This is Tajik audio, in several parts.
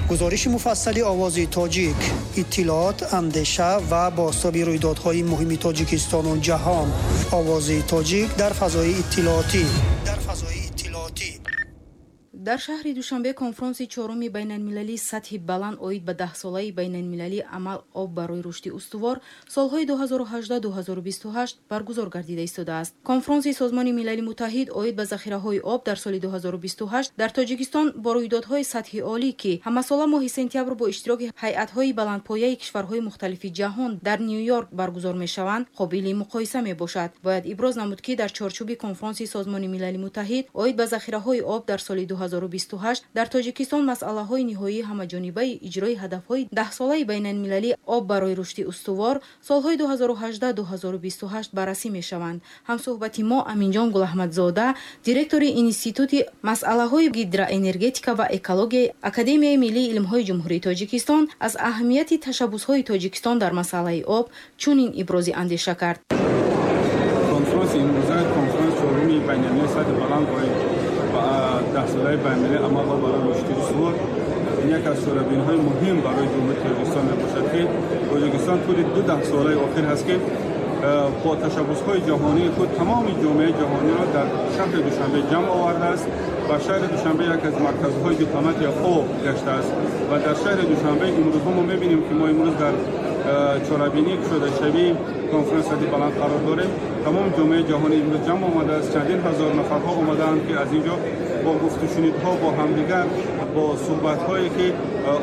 Гузориши муфассали Овози Тоҷик, иттилоот, андеша ва бозтоби рӯйдодҳои муҳими Тоҷикистону ҷаҳон. Овози Тоҷик дар фазои иттилоотӣ. Дар фазои иттилоотӣ. Дар шаҳри Душанбе конфронси чоруми байналмилалии сатҳи баланд оид ба даҳсолаи байналмилалии амал «Об барои рушди устувор» солҳои 2018-2028 баргузор гардида истодааст. Конфронси Созмони Милали Муттаҳид оид ба захираҳои об дар соли 2028 дар Тоҷикистон бо рӯйдодҳои сатҳи олӣ, ки ҳамасола моҳи сентябр бо иштироки ҳайатҳои баландпояи кишварҳои мухталифи ҷаҳон дар Ню-Йорк баргузор мешаванд, қобили муқоиса мебошад. Бояд иброз намуд, ки дар чорчӯби конфронси Созмони Милали Муттаҳид оид ба захираҳои об дар соли 2028 дар Тоҷикистон масъалаҳои ниҳоии ҳамаҷонибаи иҷрои ҳадафҳои даҳсолаи байналмилалии «Об барои рушди устувор» солҳои 2018-2028 баррасӣ мешаванд. Ҳамсӯҳбати мо Аминҷон Гулаҳмадзода, директори Институти масъалаҳои гидроэнергетика ва экологияи Академияи миллии илмҳои Ҷумҳурии Тоҷикистон, аз аҳамияти ташаббусҳои Тоҷикистон дар масъалаи об чунин ибрози андеша кард. Конфронси имрӯза, конфронс чоруми байналмилалии сатҳи баланд оид ба даҳсолаи байналмилалии амал «Об барои рушди устувор», ин яке аз чорабиниҳои муҳим барои Ҷумҳурии Тоҷикистон мебошад, ки Тоҷикистон тӯли ду даҳсолаи охир ҳаст, ки бо ташаббусҳои ҷаҳонии худ тамоми ҷомеаи ҷаҳониро дар шаҳри Душанбе ҷамъ овардааст ва шаҳри Душанбе яке аз марказҳои дипломатия об гаштааст. Ва дар шаҳри Душанбе имрӯзҳо мо мебинем, ки мо имрӯз дар чорабинии кушодашавии конфронс сатҳи баланд қарор дорем. Тамоми ҷомеаи ҷаҳонӣ имрӯз ҷамъ омадааст, чандин ҳазор нафарҳо омадаанд, ки аз ин ҷо бо гуфтушунидҳо бо ҳамдигар, бо суҳбатҳое ки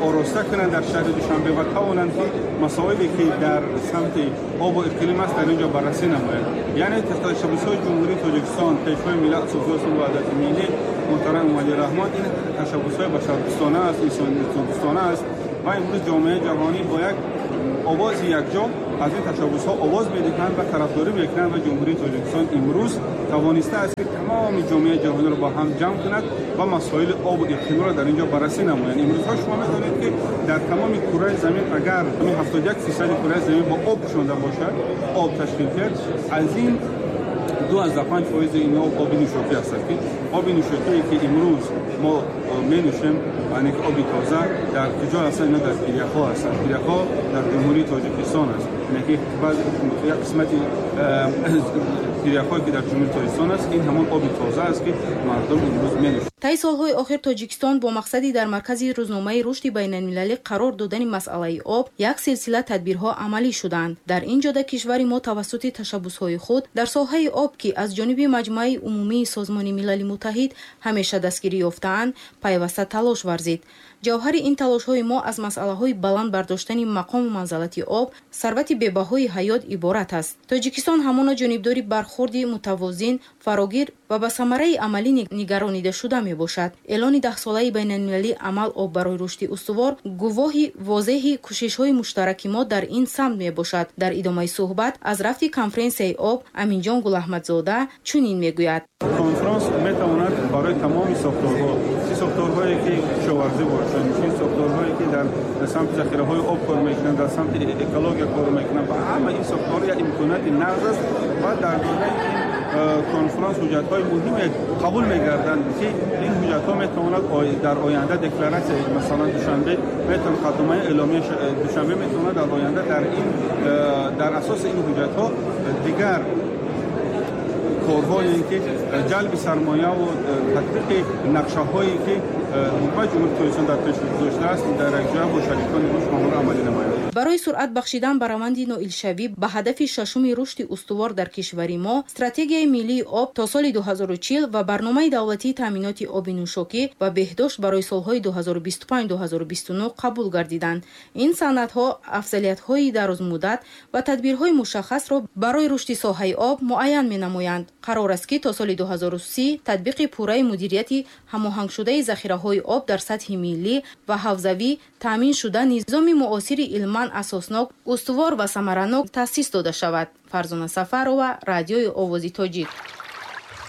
ороста кунанд дар шаҳри Душанбе ва тавонанд, ки масоиле ки дар самти обу иқлим аст, дар ин ҷо баррасӣ намоянд. Яъне ташаббусҳои Ҷумҳурии Тоҷикистон, Пешвои миллат, Асосгузори сулҳу ваҳдати миллӣ муҳтарам Эмомалӣ Раҳмон, ин ташаббусҳои башардӯстона аст, инсондӯстона аст ва имрӯз ҷомеаи ҷаҳонӣ бо як овози якҷо аз ин ташаббусҳо овоз медиҳанд ва тарафдорӣ мекунанд. Ва Ҷумҳурии Тоҷикистон имрӯз тавонистааст, ки тамоми ҷомеаи ҷаҳониро бо ҳам ҷамъ кунад ва масоили обу иқлимро дар ин ҷо баррасӣ намоянд. Имрӯзҳо шумо медонед, ки дар тамоми кураи замин агар 71% кураи замин бо об пӯшонда бошад, об ташкил кард, аз ин 2,5% ин об оби нӯшокӣ ҳастад, ки оби нӯшокие ки имрӯз мо менӯшем, яъне ки оби тоза, дар куҷо ҳастанд? Ино дар пиряхҳо ҳастанд. Пиряхҳо дар Ҷумҳурии Тоҷикистон аст, яъне ки як қисмати пиряхҳое ки дар Ҷумҳурии Тоҷикистон аст, ин ҳамон оби тоза аст, ки мардум имрӯз менӯшанд. Таи солҳои охир Тоҷикистон бо мақсади дар маркази рӯзномаи рушди байналмилалӣ қарор додани масъалаи об як силсила тадбирҳо амалӣ шуданд. Дар ин ҷода кишвари мо тавассути ташаббусҳои худ дар соҳаи об, ки аз ҷониби Маҷмӯаи умумии Созмони Милали Муттаҳид ҳамеша дастгирӣ ёфтаанд, пайваста талош варзид. Ҷавҳари ин талошҳои мо аз масъалаҳои баланд бардоштани мақому манзалати об, сарвати бебаҳои ҳаёт, иборат аст. Тоҷикистон ҳамоно ҷонибдори бархурди мутавозин, фарогир ва ба самараи амалӣ нигаронидашуда мебошад. Эълони даҳсолаи байналмилалии амал «Об барои рушди устувор» гувоҳи возеҳи кӯшишҳои муштараки мо дар ин самт мебошад. Дар идомаи суҳбат аз рафти конференсияи об Аминҷон Гулаҳмадзода чунин мегӯяд: Конфронс метавонад барои тамоми сохторҳо, чӣ сохторҳое ки кишоварзӣ бошанд, чӣ сохторҳое ки дар самти захираҳои об кор мекунанд, дар самти экология кор мекунанд, ба ҳама ин сохторҳо як имконияти нағз аст. Ва дар доираи ин конфронс ҳуҷҷатҳои муҳиме қабул мегарданд, ки ин ҳуҷҷатҳо метавонад дар оянда декларатсияи, масалан, Душанбе метавонад, қатъномаи эъломияи Душанбе метавонад дар оянда дар асоси ин ҳуҷҷатҳо дигар корҳое ки ҷалби сармояву татбиқи нақшаҳое ки ҳукумати Ҷумҳурии Тоҷикистон дар пеш гузоштааст, дар якҷоя бо шарикони худ онҳоро амалӣ намояд. Барои суръат бахшидан ба раванди ноилшавӣ ба ҳадафи шашуми рушди устувор дар кишвари мо Стратегияи миллии об то соли 2040 ва Барномаи давлатии таъминоти оби нӯшокӣ ва беҳдошт барои солҳои 2025-2029 қабул гардиданд. Ин санадҳо афзалиятҳои дарозмуддат ва тадбирҳои мушаххасро барои рушди соҳаи об муайян менамоянд. Қарор аст, ки то соли 2030 татбиқи пурраи мудирияти ҳамоҳангшудаи захираҳои об дар сатҳи миллӣ ва ҳавзавӣ таъмин шуда, низоми муосири илман асоснок, устувор ва самаранок таъсис дода шавад. Фарзона Сафарова, Радиои Овози Тоҷик.